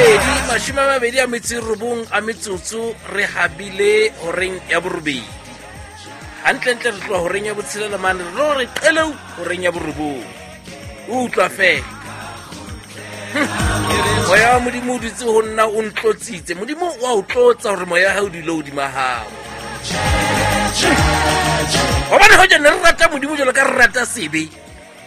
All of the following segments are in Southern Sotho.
Pedi 29 a metsotso re habile horeng ya borobedi. Hantlentle re tloha horeng ya botshelela mane re lo re qeleu horeng ya borobong. O utlwa fela. Moya wa Modimo o dutse ho nna o ntlotsitse. Modimo wa o tlotsa hore moya wa hae o dule hodima hao. Hobane hoja ne re rata Modimo jwalo ka re rata sebe,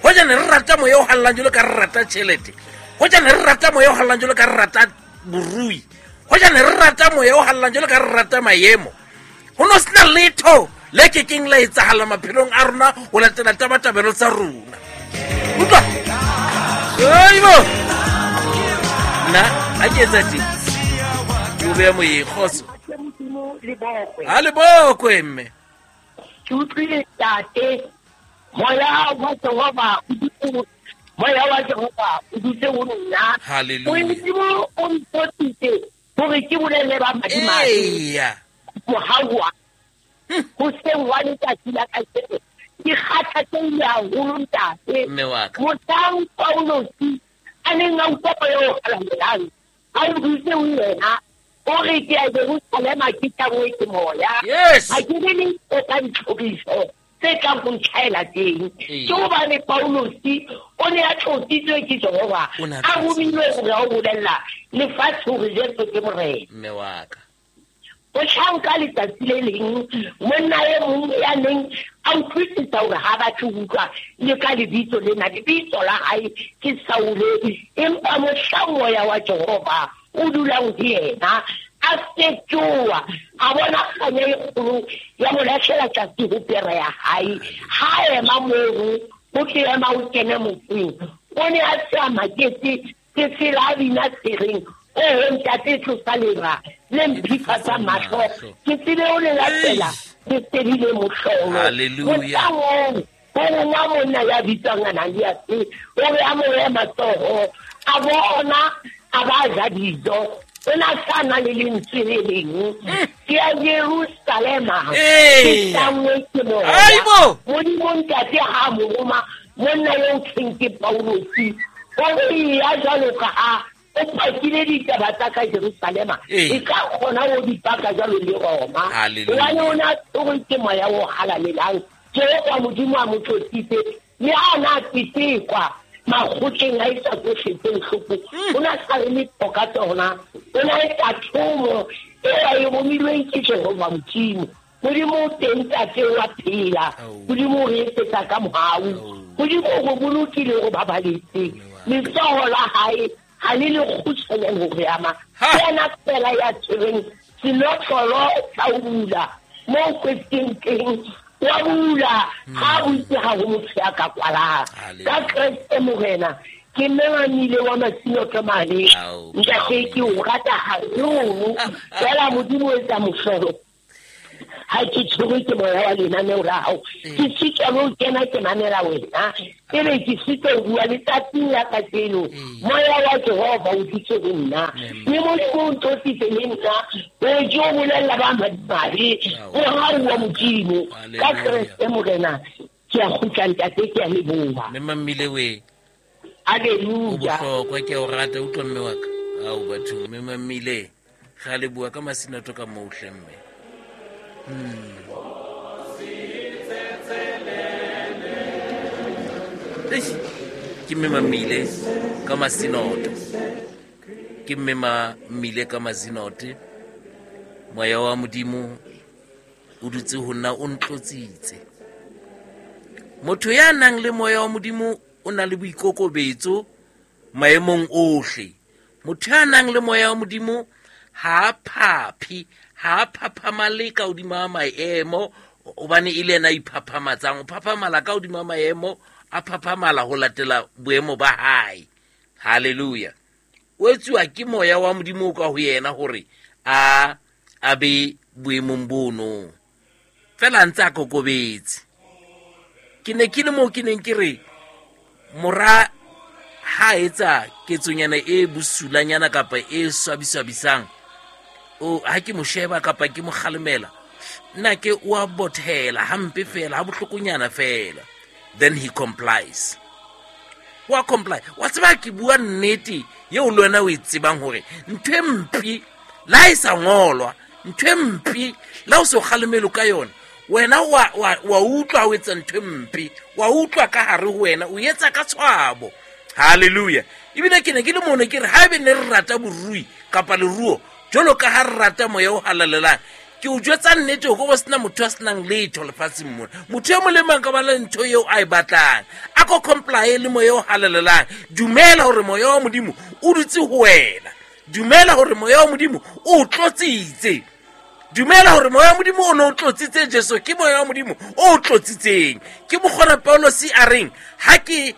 hoja ne re rata moya o hallang jwalo ka re rata tjhelete, hoja ne re rata moya o hallang jwalo ka re rata borui, hoja ne re rata moya o hallang jwalo ka re rata maemo, ho no sena letho le ke keng la etsahala maphelong a rona ho latela tabatabelo tsa rona. Utlwa? Aibo! Nna ha ke etsa teng, ke o beya moyeng. Kgotso. Ha le bokwe mme. Ke utlwile tate, moya wa Jehova o dutse, moya wa Jehova o dutse ho nna. Hallelujah. Modimo o ntlotsitse hore ke bolelle ba madimabe. Eya. Mohau wa hoseng wa letsatsi la kajeno ke kgathatsehile haholo ntate. Mme wa ka. Mohlang Paulosi a neng a utlwa moya o halalelang a o dutse ho yena, o re ke ya Jerusalema ke tlanngwe ke moya. Yes. Ha ke be le ntho tsa ditlhoriso tse tlang ho ntlhaela teng. Ee. Ke hobane Paulosi o ne a tlotsitswe ke Jehova, O ne a a romilwe tlotsitswe. hore a o bolella lefatshe hore Jesu ke Morena. Mme wa ka. O hlanka letsatsi le leng, monna e mong ya neng a utlwisisa hore ha batle ho utlwa le ka lebitso lena, lebitso la hae ke Saule, empa mohlang moya wa Jehova o dulang ho yena, a fetoha, a bona kganya e kgolo ya mo lahlela tlase ho pere ya hae. Ha ema mono, ho tle ema o kene motseng, o ne a se a maketse, ke tsela a bina tsereng, oho ntate tlosa lera le mphifatsa mahlo, ke tsebe o le latela, ke sebile mohlolo. Hallelujah. Mohlang oo, ho rongwa monna ya bitswang Ananiase, o re a mo behe matsoho, a bona, a ba ja dijo. O na sa na le lentswe le leng. Ke ya Jerusalema. Ee. Ke tlanngwe ke moya. Aibo! Modimo ntate ha a mo roma, monna eo thweng ke Paulosi, o re ya jwalo ka ha o pakile ditaba tsa ka Jerusalema, Ee. e ka kgona ho di paka jwalo le Roma. Hallelujah. Hobane o na tshwerwe ke moya o halalelang. Jehova Modimo a mo tlotsitse, mme ha a na tetekwa makgotleng a etsa tsohle tse bohloko, o na sa re letho ka tsona. O na etsa thomo e a e romilweng ke Jehova Modimo. Modimo o teng ntate wa phela. Ao. Modimo o re etsetsa ka mohau. Ao. Modimo o re bolokile o re babaletse. Letsoho la hae ha le le kgutshwanyane ho re ama. Ha. Ke yena fela ya tshwereng senotlolo sa ho bula moo kwetseng teng, wa bula, ha butse ha ho motho ya ka kwalang. Hallelujah. Ka Kreste Morena, ke mmamile wa Masinoto mane. Ao. Ntate, ke o rata haholo. Fela Modimo o etsa mohlolo. Ha ke tshwerwe ke moya wa lenaneo la hao, ke sitwa le ho kena ke mamela wena, ebe ke sitwa ho bua letsatsing la kajeno. Moya wa Jehova o dutse ho nna, mme Modimo o ntlotsitse le nna, o ke o bolella ba madimabe mohau wa Modimo. Ka Kreste Morena, ke a kgutla ntate, ke a leboha. Mme Mammile we. Hallelujah. O bohlokwa, ke a o rata, utlwa mme wa ka. Ao batho, mme Mammile, ga le bua ka masinoto ka moo hle mme. Eish, ke mme Mammile ka masinoto. Ke mme Mammile ka masinote. Moya wa Modimo o dutse ho nna o ntlotsitse. Motho ya nang le moya wa Modimo o na le boikokobetso maemong ohle. Motho ya nang le moya wa Modimo ha a phaphe, ha a phaphamale ka hodima maemo, hobane e le yena a iphaphamatsang. O phaphamala ka hodima maemo, a phaphamala ho latela boemo ba hae. Hallelujah. O etsuwa ke moya wa Modimo o ka ho yena hore a be boemong bono. Fela a ntse a kokobetse. Ke ne ke le moo ke neng ke re mora ha etsa ketsonyana e bosulanyana kapa e swabiswabisang, o ha ke mo sheba kapa ke mo kgalemela, nna ke o a bothela hampe fela, ha bohlokonyana fela, then he complies. Wa comply. Wa tseba ke bua nnete eo le wena o e tsebang hore ntho e mpe la e sa ngolwa, ntho e mpe la o se o kgalemelo ka yona, wena wa utlwa o etsa ntho e mpe, wa utlwa ka hare ho wena, o etsa ka tshwabo. Hallelujah. Ebile ke ne ke le mono ke re haebe ne re rata borui kapa leruo jwalo ka ha re rata moya o halalelang, ke o jwetsa nnete ho ko sena motho a senang letho lefatsheng mona. Motho e mong le mang ka ba le ntho eo a e batlang, a ko comply le moya o halalelang. Dumela hore moya wa Modimo o dutse ho wena. Dumela hore moya wa Modimo o tlotsitse. Dumela hore moya wa Modimo o ne o tlotsitse Jesu, ke moya wa Modimo o tlotsitseng. Ke mokgona Paulosi a reng ha ke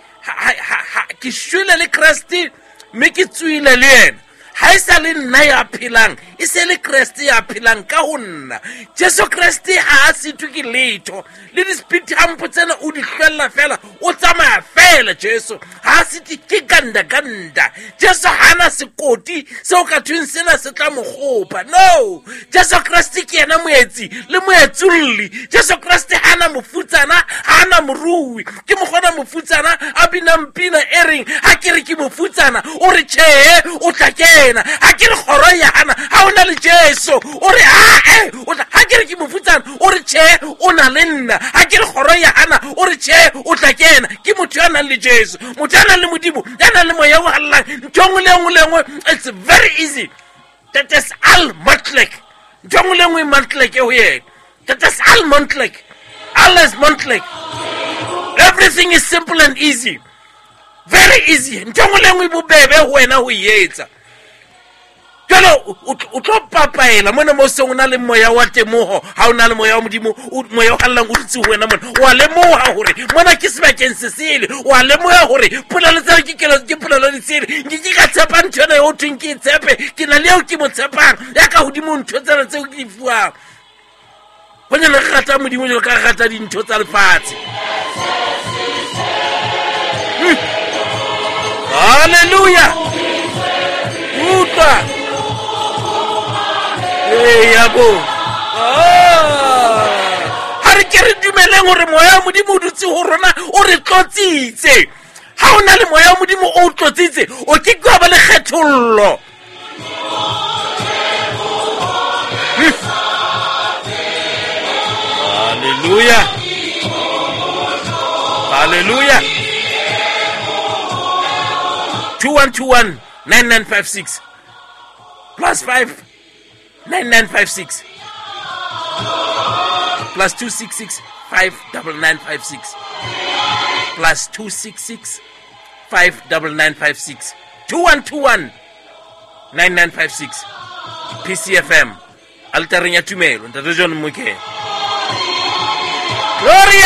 ke shwele le Kreste mme ke tswile le yena, ha e sa le nna ya phelang, e se le Kreste ya phelang ka ho nna. Jesu Kreste ha a sitwe ke letho, le di-speed hump tsena o di hlwella fela, o tsamaya fela. Jesu ha a sitwe ke ganda ganda. Jesu ha na sekoti seo ka thweng sena se tla mo kgopa. No, Jesu Kreste ke yena moetsi le moetsolli. Jesu Kreste ha na mofutsana, ha na morui. Ke mokgona mofutsana a binang pina e reng ha ke re ke mofutsana, o re tjhe, o tla kena. Ha ke re kgoro ya hana, ha o na le Jesu, o re ae, o tla. Ha ke re ke mofutsana, o re tjhe, o na le nna. Ha ke re kgoro ya hana, o re tjhe, o tla kena. Ke motho ya nang le Jesu, motho ya nang le Modimo, ya nang le moya o halalelang. Ntho e nngwe le nngwe le nngwe, it's very easy. That is all Montlek. Ntho e nngwe le nngwe Montlek ho yena. That is all Montlek. Alles Montlek. Everything is simple and easy. Very easy. Ntho e nngwe le nngwe bobebe ho wena ho e etsa. Jwale o tlo papaela mona mo seng o na le moya wa temoho, ha o na le moya wa Modimo, moya o hallang o dutse ho wena mona, wa lemoha hore mona ke sebakeng se sele, wa lemoha hore polelo tseo ke kelo, ke polelo di sele. Nke ke ka tshepa ntho ena eo thweng ke e tshepe, ke na le eo ke mo tshepang ya ka hodimo ntho tsena tseo ke di fuwang. Bonyane re rata Modimo jwalo ka re rata dintho tsa lefatshe. Hallelujah. Utlwa. Eya bo. Ha re ke re dumeleng hore moya wa Modimo o dutse ho rona, o re tlotsitse. Ha o na le moya wa Modimo o tlotsitse, o ke ke wa ba le kgethollo. Hallelujah. Hallelujah. 2121 9956 plus 5 9956 plus 266 59956 plus 266 59956 2121 9956 PCFM altareng ya tumelo. Ntate John Moke. Gloria.